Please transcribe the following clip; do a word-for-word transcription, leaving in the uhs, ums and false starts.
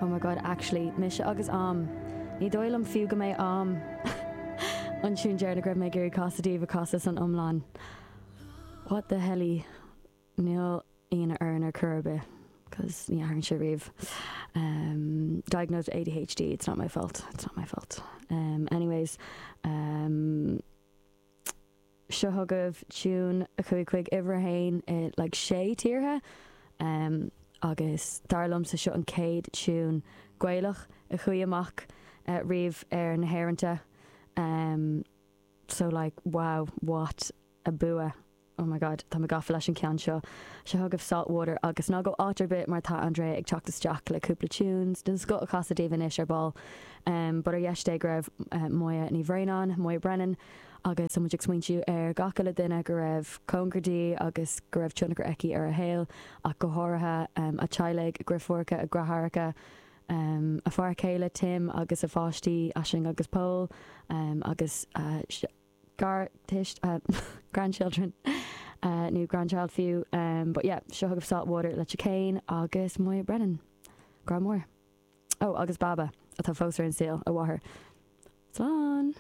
Oh my God, actually, mise agus am. Ní dóigh liom fiú go mbeidh am an tune deireanach go raibh mé ag iarraidh casadh daoibh a chasadh san iomlán. What the hell? Níl ionadh orainn ar chor ar bith, cos ní athraíonn sé riamh. Um, diagnosed A D H D, it's not my fault. It's not my fault. Um, anyways, um, seo chugaibh tune a chuaigh chuig uimhir a haon i like sé tíortha um, agus dar liomsa seo an chéad tune Gaelach a chuaigh amach uh, riamh ar na haeranta. Um, so like, wow, what a bua. Oh my God, tá mé gafa leis an ceann seo. Seo chugaibh Saltwater agus ná gabh áit ar bith mar tá Andrea ag teacht isteach le cúpla tunes den scoth a chasadh daoibh anois ar ball. Um, but ar dheis Dé go raibh uh, Moya Ní Bhraonáin, Moya Brennan, agus muid ag smaointiú ar gach uile duine go raibh cóngar di agus go raibh tionchar aici ar a shaol ach go háirithe um, a teaghlach, deirfiúracha, a deartháireacha, um, a fear céile Tim agus a pháistí Aisling agus Paul um, agus uh, gar uh, grandchildren uh, nó grandchild fiú um, but yeah, seo chugaibh Saltwater le Chicane agus Moya Brennan. Grá mór. Oh, agus Baba atá fós ar an saol a mháthair. Slán!